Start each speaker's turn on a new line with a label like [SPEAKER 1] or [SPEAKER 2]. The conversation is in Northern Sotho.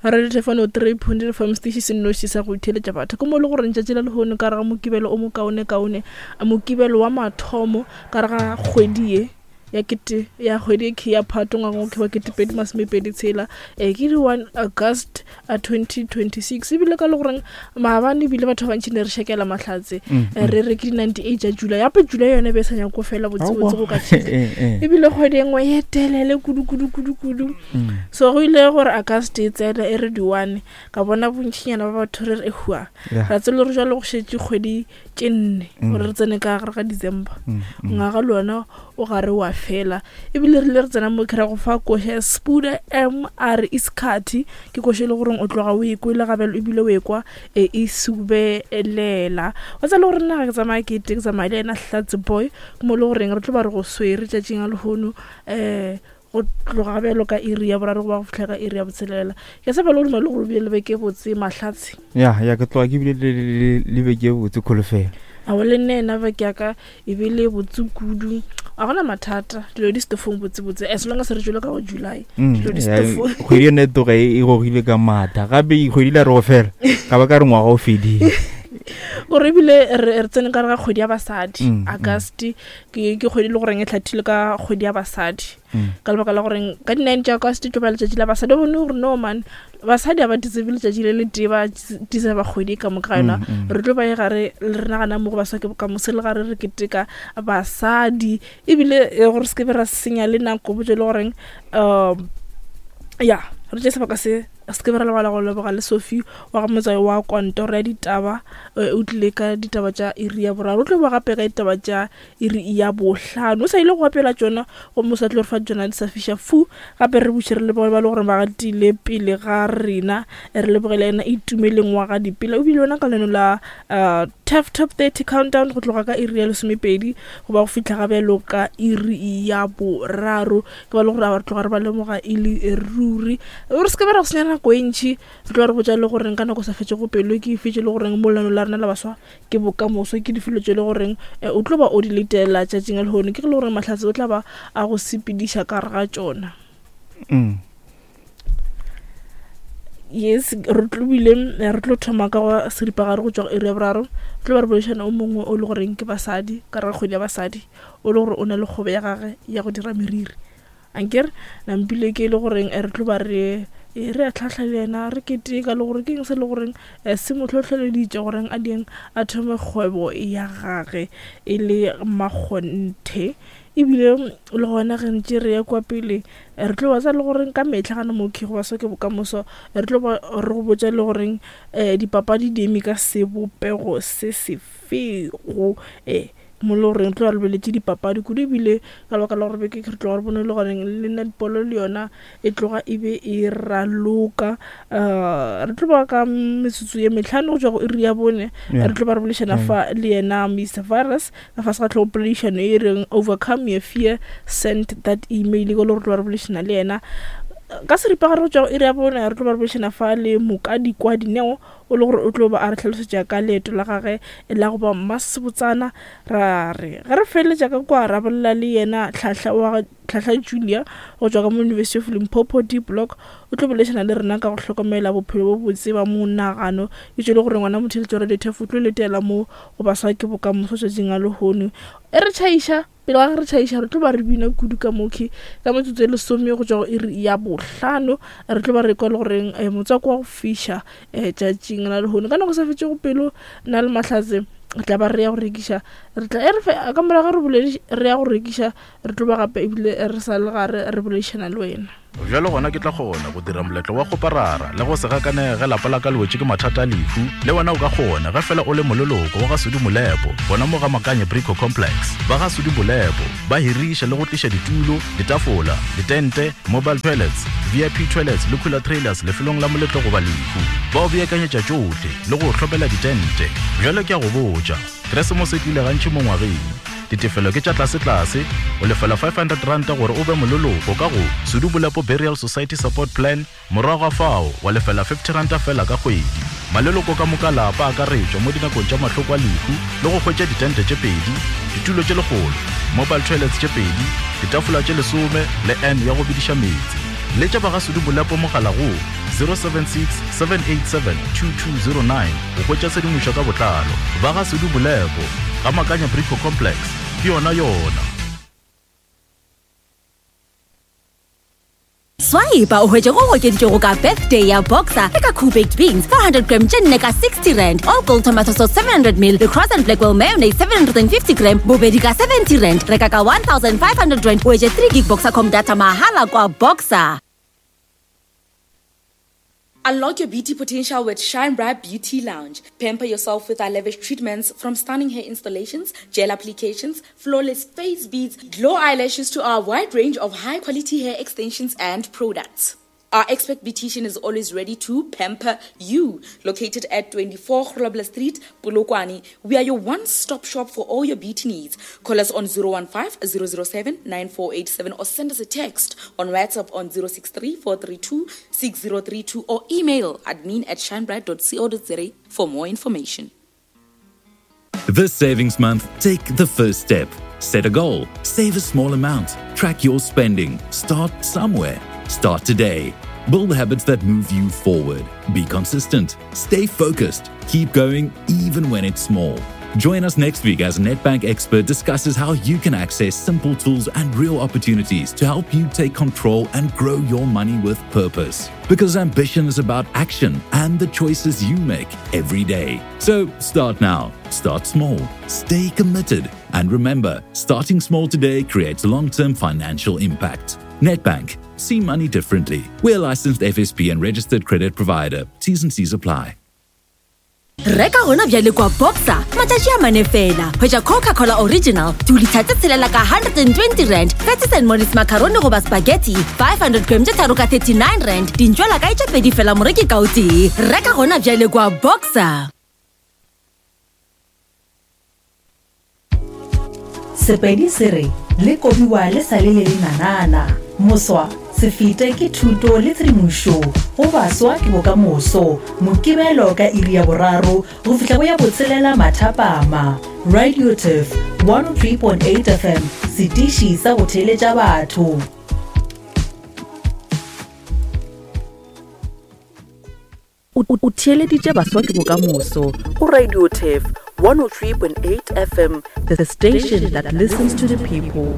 [SPEAKER 1] Radio Thefano 3.5 station se nnoši sa go itheletša batho ke mo e le gore letšatši la lehono ka re ga mokibelo o mokaonekaone mokibelo wa mathomo ka re ga kgwedi ye ya kete ya kgwedi e key ya phato ngwageng o wa 2026 e ke di 1 August 2026 ebile ka le goreng maabane ebile batho ba bantši ne re šekela mahlatse mm, mm. re re ke di 98 tša July gape July yone be e sa nyako fela botsebotse go ka tšhile eh, eh. ebile kgwedi e nngwe ye telele kudu kudu kudu kudu mm. so go ile gore August e tsene e re di 1 ka bona bontšinyana ba batho re re ehua ra tsela gore jalo go šetše kgwedi tše nne mm. gore re tsene ka gare ga december mm, mm. ngwaga le ona o gare wa fela ebile re ile re tsena mo kry go fa koša ya spuda m r iscati ke koša e le goreng o tloga o ekwele gabelo ebile o ekwa e e subelela wa tsa le gore nna ga ke tsamaya ke te ke tsamaya le ena hlatse boy ke mo e le goreng re tlo ba re go swere tšatšing a lehono um go tloga bjalo ka iri ya boraro go ba go fitlha ka iri ya botshelela ke tshepa le go duma le gore o bile le beke botse mahlatse
[SPEAKER 2] ya ya ke tloga ke bile le beke botse kholofelo
[SPEAKER 1] ao le nna ena beke ya ka e be le botse kudu a gona mathata dilo di stofong botsebotse as long as re tswele ka go july mm, dilo di
[SPEAKER 2] stofong kgwedi yone e tloga e, e gogile ka maatla gape kgwedi la re go fela ka ba ka re ngwaga o fedile
[SPEAKER 1] gore ebile re tsene ka re ga kgwedi ya basadi mm, mm. august ke ke kgwedi le goreng e tlhathile ka kgwedi ya basadi mm. ka lebaka la goreng ka di-nine tša august tlo ba letšatši la basadi o bone gore no man basadi ga ba deserve letšatši le le tee ba deserve kgwedi ka moka ga yona mm, mm. re tlo ba e gare re nagana mo go baswa ke bokamoso le gare re keteka basadi ebile e, gore se ke be ra senya le nako botse le goreng um ya re tše sebaka se se ke be ra lebala go leboga le sophie wa ga motswai wa kontoro ya ditaba eh, o tlile ka ditaba tša iri ya boraro o tlo boa gape ka ditaba tša iri ya bohlano o sa ile go apela tšona gomme o sa tlo re fa tšona di sa fiša fu gape re buše re leboge ba le gore ba gatile pele ga rena eh, re lebogele ena itumeleng wa ga dipela o bile yona ka leno la uh, taf top 30 countdown go tloga ka iri ya lesomepedi go ba go fitlha ga bjalo ka iri ya boraro ke ba le gore a re tloga re ba lemoga e le ruri re se ke ba ra go senya nako e ntšhi re tloga re botša le goreng ka nako sa fetšego pelo ke efe tše le goreng molano la rena la baswa ke bokamoso ke difelo tše le goreng eh, o tlo ba o di letela tšatšing a lehono ke ge le goreng mahlatse o tla ba a go sepediša ka gare ga tšona mm. yes re tlobile eh, re tlo thoma ka go seripagare go tšwa go iri ya boraro re tlo ba re boledišana o mongwe o le goreng ke basadi ka re kgwedi ya basadi o le gore o na le kgobo ya gage ya go dira meriri Ankere nampile ke e le goreng eh, re tlo ba re eh, re a tlhahla le yena re keteka le gore ke eng se le goreng eh, se mo hlohleleditše goreng a dieng a thome kgwebo ya gage e le makgonthe ebile le gona ge ntše re ya kwa pele re tlo ba sa le goreng ka metlha gana mo go ba ke bokamoso re tlo ba re go botša le goreng um dipapadi di eme ka sebopego se sefego um mo le goreng tlo lebeletše dipapadi kudu ebile ka lebaka la gore beke re tloga re bone le goreng le netball le yona e tloga e be e raloka um re tlo ba ka metsotso ye metlhano go tšwa go iri ya bone re tlo ba re boledišana fa le yena Mr Virus ka fase ga tlhogopoledišano e reng overcome your fear send that email ke le gore tlo ba re boledišana le yena ka seripagare go tšwa go iri ya bone re tlo ba re boledišana fa le mokadi kwa dineo o le gore o tlo ba a re hlalosetša ka leeto la gage la go ba mmasebotsana. Ra re ge re feleletša ka kwa ra bolela le yena Tlhahla wa Tlhahla Julia go tšwa ka mo University of Limpopo D Block o tlo boledišana le rena ka go hlokomela bophelo bo botse ba monagano e tšwele gore ngwana motheletšo wa Radio Turf o tlo letela mo go baswa ke bokamoso tšatšing a lehono e re tšhaiša Pele ga ge re tšhaiša, re tlo ba re bina kudu ka mokhi ka metsotso e lesome go tšwa go iri ya bohlano. Re tlo ba re kwa le goreng eh, motswako wa go fiša eh, tšatšing la lehono. Ka nako sa fetšego pelo, nna le Mahlatse re tla ba re ya go rekiša. Re tla e re fe ka morago re boledi re ya go rekiša, re tlo ba gape ebile re sa le gare re boledišana le wena.
[SPEAKER 3] Bjalo gona ke tla kgona go dira moletlo wa kgoparara le go se gakanege ge lapa la ka le wetše ke mathata a lehu. Le wena o ka kgona ge fela o le moleloko wa ga Sudi Molepo gona mo ga Makanye Brico Complex. Ba ga Sudi Molepo ba hiriša le go tliša ditulo, ditafola, ditente, mobile toilets, VIP toilets le cooler trailers lefelong la moletlo goba lehu. Ba o beakanyetša tšohle le go o hlomela ditente. Bjalo ke a go botša, Keresemose e tlile gantši mo ngwageng. Ditefelo ke tša tlasetlase, o lefela R500 gore o be moleloko ka go Sudu Bolepo Burial Society Support Plan, morago ga fao wa lefela R50 fela ka kgwedi. Maleloko ka moka lapa a akaretšwa mo dinakong tša mahloko a lehu le go hwetša ditente tše pedi, ditulo tše lekgolo, mobile toilets tše pedi, ditafola tše lesome le urn ya go bediša meetse. Letša ba ga Sudu Bolepo mogala go. 076 787 2209 go hwetša tshedimošo ka botlalo. Ba ga Sudu Molepo, ga Makanya Brico Complex, ke yona yona.
[SPEAKER 4] Swipe o hwetše go okeditšwego ka birthday ya Boxer le ka Cool Baked Beans 400 gram tše nne ka 60 rand, All Gold Tomato Sauce 700 ml le Cross and Blackwell Mayonnaise 750 gram bobedi ka 70 rand. Reka ka 1500 rand o hwetše 3 gig Boxercom data mahala kwa Boxer.
[SPEAKER 5] Unlock your beauty potential with Shine Bright Beauty Lounge. Pamper yourself with our lavish treatments from stunning hair installations, gel applications, flawless face beads, glow eyelashes to our wide range of high quality hair extensions and products. Our expert beautician is always ready to pamper you. Located at 24 Grobler Street, Polokwane, we are your one-stop shop for all your beauty needs. Call us on 015 007 9487 or send us a text on WhatsApp on 063 432 6032 or email admin at shinebright.co.za for more information.
[SPEAKER 6] This savings month, take the first step. Set a goal, save a small amount, track your spending, start somewhere. Start today. Build habits that move you forward. Be consistent, stay focused, keep going even when it's small. Join us next week as a Nedbank expert discusses how you can access simple tools and real opportunities to help you take control and grow your money with purpose. Because ambition is about action and the choices you make every day. So start now, start small, stay committed, and remember starting small today creates long term financial impact. Nedbank, see money differently. We're a licensed FSP and registered credit provider. T's and C's apply.
[SPEAKER 4] Reka gona bjale kwa Boxer matšatši a mane fela. Hwetša Coca-Cola Original dilitha tše tshelela ka 120 rand, Patties and Mollies macaroni goba spaghetti 500 gram tše tharo ka 39 rand, dintšwela kae tše pedi fela moreki ka o tee. Reka gona bjale kwa Boxer.
[SPEAKER 7] Sepedi se re, Le kobiwa le sa le le lenanana. Moswa, se fete ke thuto le tshedimošo go baswa ke bokamoso. Mokibelo ka iri ya boraro go fihla go ya botshelela mathapama. Radio Turf 103.8 FM, setiši sa go theeletša batho.
[SPEAKER 8] O theeleditše Baswa ke Bokamoso go Radio Turf 103.8 FM, the station that listens to the people.